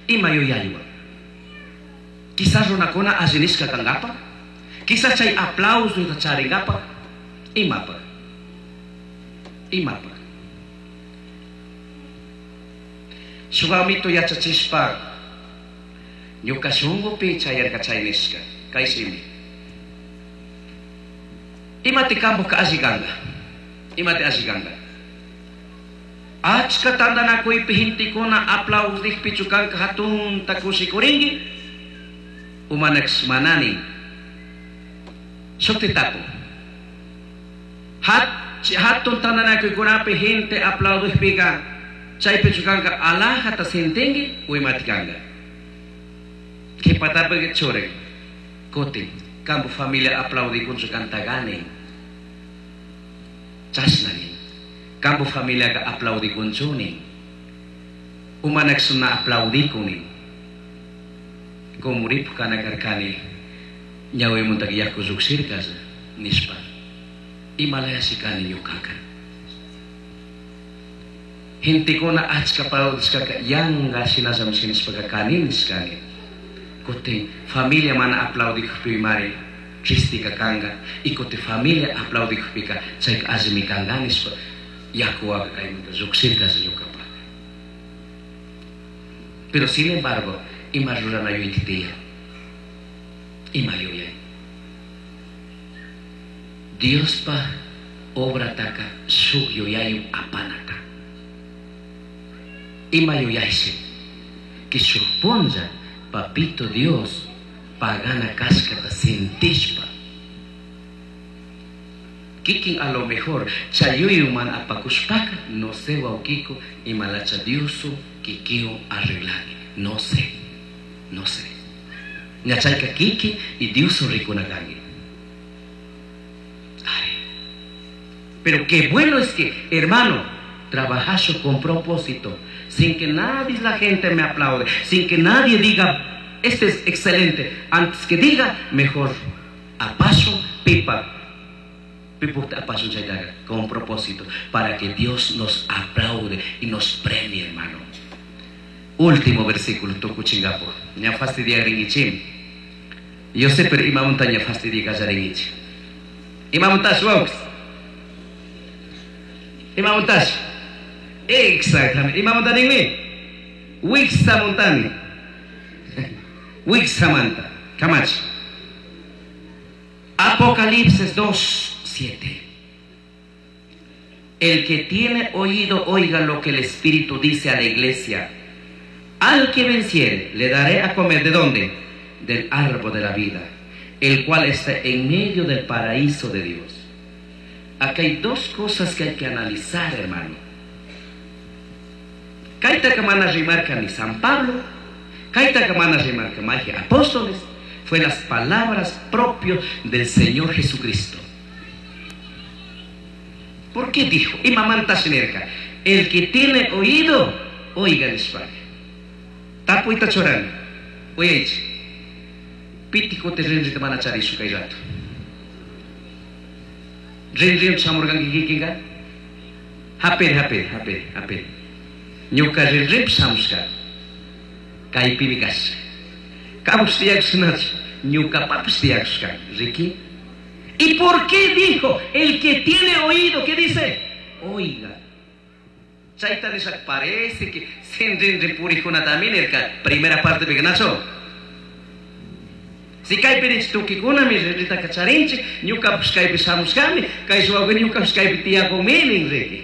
Ima yuyaywan? Quizás runakuna alli nishka kankapaj, quizás chay aplauso charingapaj, imapaj? Imapaj? Shuk amito yachachishpa ñuka shunkupi chayarka chay nishka, kay shimi. Imati kampuka alli kanka? Imati alli kanka? Achka tantanakuypi gentekuna aplaudikpichu kanka hatunta kushikurinki? Umanax manani. Shukti tapu. Hatun tantanakuykunapi gente aplaudikpika chaypichu kanka alajata sintinki o imati kanka? Qhipatapi churin. Kutin kampu familia aplaudikunchu kantagani. Chashnani. Kampu familiaqa aplaudikunchuni. Umanax na aplaudikuni. Kumuripu kana karkani ñawimuntaka yaku lluqshirkas nishpa. Imalayashi kani ñuqaqa. Gentekuna achka aplaudishkaka yanqa shinallami nishpaka kani nishkani. Kutin familia mana aplaudikukpimari tristika kanka y kutin familia aplaudikukpika chayka allimi kanka nishpa yakuwaka kaymanta lluqshirkas ñuqapaq. Pero sin embargo, ima rurana yuyayta tiyan. Ima yuyay. Diospa obrataka shuk yuyaywan apanaka. Ima yuyayshi que shuk punlla papito Dios pagana kashkata sintishpa. Kikin a lo mejor chay yuyaywan apakushpaka no sé wawkiko imalacha Diosu kikiwan arreglani. No sé, no sé. Ña chayka kiki y Diosu rikuna kanki. Ay. Pero qué bueno es que, hermano, trabajazo con propósito, sin que nadie la gente me aplaude, sin que nadie diga, este es excelente. Antes que diga, mejor apaso pipa. Pipa apaso chaytaga, con propósito, para que Dios nos aplaude y nos premie, hermano. Último versículo, tukuchingapo. Ña fastidiaringichim. Yo sé, pero ima montaña fastidia kallaringichim. Ima montash, wawks. Ima montash. Exactamente. Ima montaninmi. Wiksa montani. Wiksamanta. Camacho. Apocalipsis 2, 7. El que tiene oído, oiga lo que el Espíritu dice a la iglesia. Al que venciere, le daré a comer. ¿De dónde? Del árbol de la vida, el cual está en medio del paraíso de Dios. Acá hay dos cosas que hay que analizar, hermano. Kayta mana rimarka ni San Pablo, kayta mana rimarka magia apóstoles, fue las palabras propias del Señor Jesucristo. ¿Por qué dijo? Imamanta shinerka, el que tiene oído, oiga nishpaka. Tapuyta churani. Uyaychik. Pitik kuti rinrita mana charishu kay rato. Rinrin shamurqanki kikinqa? Hapiri, hapiri, hapiri, hapiri. Ñuka rinrinpi shamushka. Kaypimi kashka. Kamush tiyakushnachu. Ñukapapish tiyakushka. Riki. ¿Y por qué dijo? El que tiene oído, ¿qué dice? Oiga. Chayta nisha parece que sin rinrin puriqkunatami nirka. Primera parte pika, Si kaypi rinchik tukikunami rinritaka charinchik, ñukapish kaypi shamushkami, kay wawqi ñukapish kaypi tiyakunmi nin riki.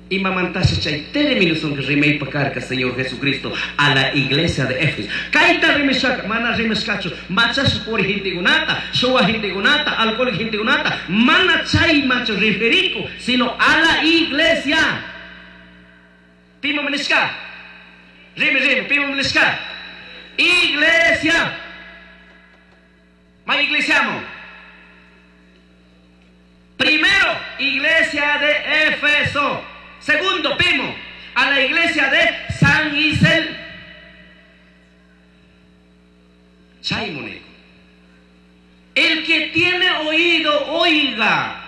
Imamantashi chay términos rimaypa karka Señor Jesucristo a la iglesia de Éfeso. Kayta rimashaka, mana rimashkachu, machasha puri gentekunata, shuwa gentekunata, alcohólico gentekunata, mana chaymanchu referiku, sino a la iglesia. Piman nishka? Rimi, rimi, piman nishka? Iglesia. Ma iglesiamo. Primero, iglesia de Éfeso. Segundo, Pimo, a la iglesia de San Isel. Chaymoneko. El que tiene oído, oiga.